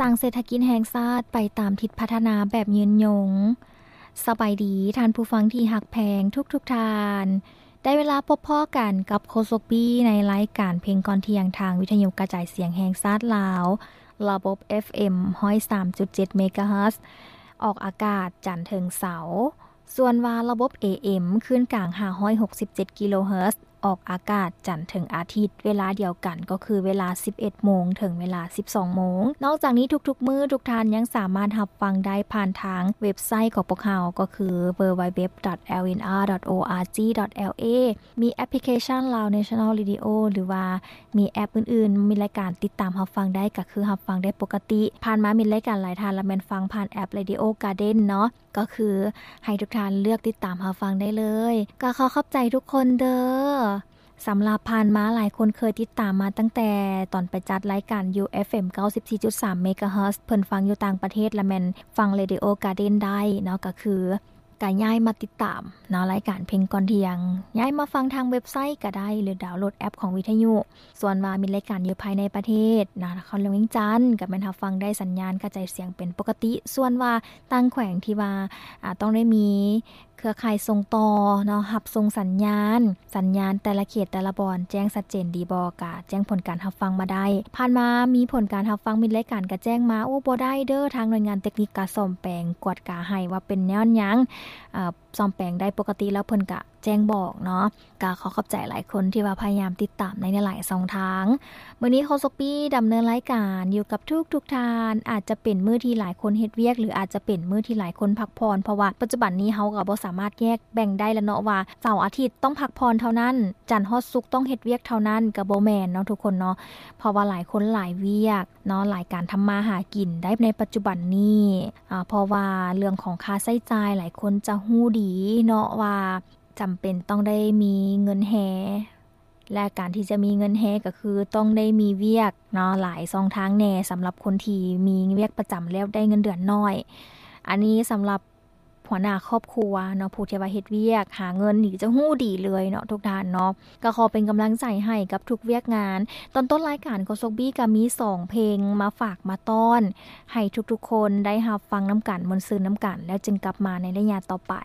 ສ້າງເສດຖະກິດແຫ່ງຊາດໄປຕາມທິດພັດທະນາແບບຍືນຍົງ. ສະບາຍດີທ່ານຜູ້ຟັງທີ່ຮັກແພງທຸກໆທ່ານ. ໄດ້ເວລາພົບພໍ້ກັນກັບໂຄສົກບີ້ໃນລາຍການເພງກ່ອນທ່ຽງ ທາງວິທະຍຸກະຈາຍສຽງແຫ່ງຊາດລາວ, ລະບົບ ເອັຟເອັມ ຮ້ອຍສາມຈຸດເຈັດ ເມກາເຮີດ, ອອກອາກາດຈັນເຖິງເສົາ. ສ່ວນວ່າລະບົບ ເອເອັມ ຄື້ນກາງ ຫ້າຮ້ອຍຫົກສິບເຈັດ ກິໂລເຮີດ, ອອກອາກາດຈັນເຖິງອາທິດ ເວລາດຽວກັນ ກໍຄືເວລາ ສິບເອັດໂມງ ເຖິງເວລາ ສິບສອງໂມງ. ນອກຈາກນີ້ ທຸກໆມື້ ທຸກທ່ານຍັງສາມາດຮັບຟັງໄດ້ຜ່ານທາງເວັບໄຊຂອງພວກເຮົາ ກໍຄື ดัບເບິນຢູດັບເບິນຢູດັບເບິນຢູ ດອດ ແອລເອັນອາ ດອດ ໂອອາຈີ ດອດ ແອລເອ ມີແອັບພລິເຄຊັນ Lao National Radio ຫຼືວ່າມີແອັບອື່ນໆ ມີລາຍການຕິດຕາມຮັບຟັງໄດ້ ກໍຄືຮັບຟັງໄດ້ປົກກະຕິ. ຜ່ານມາມີລາຍການຫຼາຍທ່ານລະແມ່ນຟັງຜ່ານແອັບ Radio Garden ເນາະ, ກໍຄືໃຫ້ທຸກທ່ານເລືອກຕິດຕາມຮັບຟັງໄດ້ເລີຍ. ກໍຂໍຂອບໃຈທຸກຄົນເດີ້. ສຳລັບຜ່ານມາ ຫຼາຍຄົນເຄີຍຕິດຕາມມາຕັ້ງແຕ່ຕອນໄປຈັດລາຍການຢູ່ ເອັຟເອັມ ເກົ້າສິບສີ່ຈຸດສາມ ເມກາເຮີດ, ເພິ່ນຟັງຢູ່ຕ່າງປະເທດລະແມ່ນຟັງ Radio Garden ໄດ້ເນາະ, ກໍຄື ກະຍ້າຍມາຕິດຕາມເນາະ ລາຍການເພງກ່ອນທ່ຽງ, ຍ້າຍມາຟັງທາງເວັບໄຊກໍໄດ້ ຫຼືດາວໂຫຼດແອັບຂອງວິທະຍຸ. ສ່ວນວ່າມີລາຍການຢູ່ພາຍໃນປະເທດນະ ນະຄອນຫຼວງວຽງຈັນ ກໍແມ່ນຮັບຟັງໄດ້ ສັນຍານກະຈາຍສຽງເປັນປົກກະຕິ. ສ່ວນວ່າຕ່າງແຂວງທີ່ວ່າ ອາ ຕ້ອງໄດ້ມີເຄືອຂ່າຍສົ່ງຕໍ່ເນາະ ຮັບສົ່ງສັນຍານ, ສັນຍານແຕ່ລະເຂດແຕ່ລະບ່ອນແຈ້ງຊັດເຈນດີບໍ່ ກະແຈ້ງຜົນການຮັບຟັງມາໄດ້. ຜ່ານມາມີຜົນການຮັບຟັງ ມີລາຍການກະແຈ້ງມາ, ໂອ້ ບໍ່ໄດ້ເດີ້, ທາງໜ່ວຍງານເຕັກນິກກະສ້ອມແປງ ກວດກາໃຫ້ວ່າເປັນຍ້ອນຫຍັງ, ເອີ ສ້ອມແປງໄດ້ປົກກະຕິແລ້ວ ເພິ່ນກະແຈ້ງບອກເນາະ. ກະຂໍຂອບໃຈຫຼາຍຄົນທີ່ວ່າພະຍາຍາມຕິດຕາມໃນຫຼາຍໆຊ່ອງທາງ. ມື້ນີ້ໂຄສົກປີ້ດຳເນີນລາຍການຢູ່ກັບທຸກໆທ່ານ. ອາດຈະເປັນມື້ທີ່ຫຼາຍຄົນເຮັດວຽກ ຫຼືອາດຈະເປັນມື້ທີ່ຫຼາຍຄົນພັກຜ່ອນ, ເພາະວ່າປັດຈຸບັນນີ້ເຮົາກໍບໍ່ສາມາດແຍກແບ່ງໄດ້ລະເນາະ ວ່າເສົາອາທິດຕ້ອງພັກຜ່ອນເທົ່ານັ້ນ, ຈັນຮອດສຸກຕ້ອງເຮັດວຽກເທົ່ານັ້ນ, ກໍບໍ່ແມ່ນເນາະທຸກຄົນເນາະ. ເພາະວ່າຫຼາຍຄົນຫຼາຍວຽກເນາະ, ຫຼາຍການທຳມາຫາກິນໄດ້ໃນປັດຈຸບັນນີ້, ອາ ເພາະວ່າເລື່ອງຂອງຄ່າໃຊ້ຈ່າຍ ຫຼາຍຄົນຈະຮູ້ດີເນາະວ່າ ຈຳເປັນຕ້ອງໄດ້ມີເງິນແຮ່ ແລະ ການທີ່ຈະມີເງິນແຮ່ກໍຄືຕ້ອງໄດ້ມີວຽກເນາະ ຫຼາຍຊ່ອງທາງແດ່ ສຳລັບຄົນທີ່ມີວຽກປະຈຳແລ້ວໄດ້ເງິນເດືອນໜ້ອຍ. ອັນນີ້ສຳລັບຫົວໜ້າຄອບຄົວເນາະ ຜູ້ທີ່ວ່າເຮັດວຽກຫາເງິນນີ້ຈະຮູ້ດີເລີຍເນາະທຸກທ່ານເນາະ. ກໍຂໍເປັນກຳລັງໃຈໃຫ້ກັບທຸກວຽກງານ. ຕອນຕົ້ນລາຍການໂຄສົກປີ້ກໍມີສອງເພງມາຝາກມາຕ້ອນ ໃຫ້ທຸກໆຄົນໄດ້ຮັບຟັງນຳກັນ ມ່ວນຊື່ນນຳກັນ ແລ້ວຈຶ່ງກັບມາໃນໄລຍະຕໍ່ໄປ.